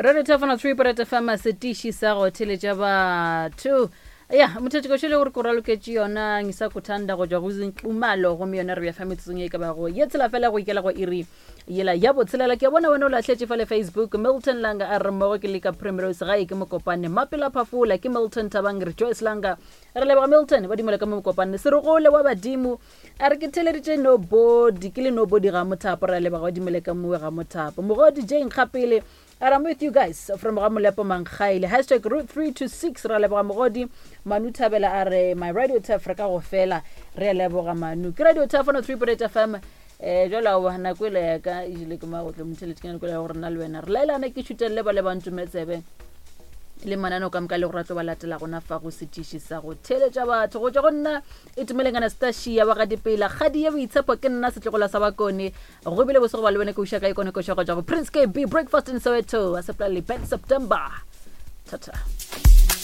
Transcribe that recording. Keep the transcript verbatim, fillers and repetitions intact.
Radio Tafana three point F M, setiši sa go theletša batho. Ya, mothetšo le gore ko raloketše yona ngisakuthanda go tšwa go Zinxumalo, gomme yona re bja fa metsotsong ye e ka bago ye tshela fela go ikela go iri yela ya botshelela. Ke a bona wena o lahletše fa le Facebook. Milton Langa a re mmogo ke leka Primrose gae ke Mokopane. Mapela Phafola ke Milton Thabang re Joyce Langa. Re leboga Milton, ba dumela ka mo Mokopane. Serogole wa badimo a re ke theleditše nobody, ke le nobody ga mothapo. Re a leboga, ba dumele ka mowe ga mothapo. Mogodi Jane Kgapele a re I'm with you guys from ga Molepo Mankgaile. Hashtag route three to six. Re a leboga Mogodi. Manu Thabela a re my radio taf re ka go fela. Re a leboga Manu. Ke radio taf on three point eight F M. Eh, jwale aowa, nako ele ya ka e jele ke magotlo, motheletši, ke nako ya gore nna le wena re laelane, ke šutelele ba le ba ntumetsebe le mananeo ka moka le gore a tlo ba latela gona fa go setiši sa go theletša batho. Go tšwa go nna Itumeleng Anastasia wa ga Dipela, kgadi ye boitshepo, ke nna setlogola sa Bakone. Go bile bose go ba le wena, ke uša ka ikone koša go tšwa go Prince K B, Breakfast in Soweto, a sepela le Ben September. Thata.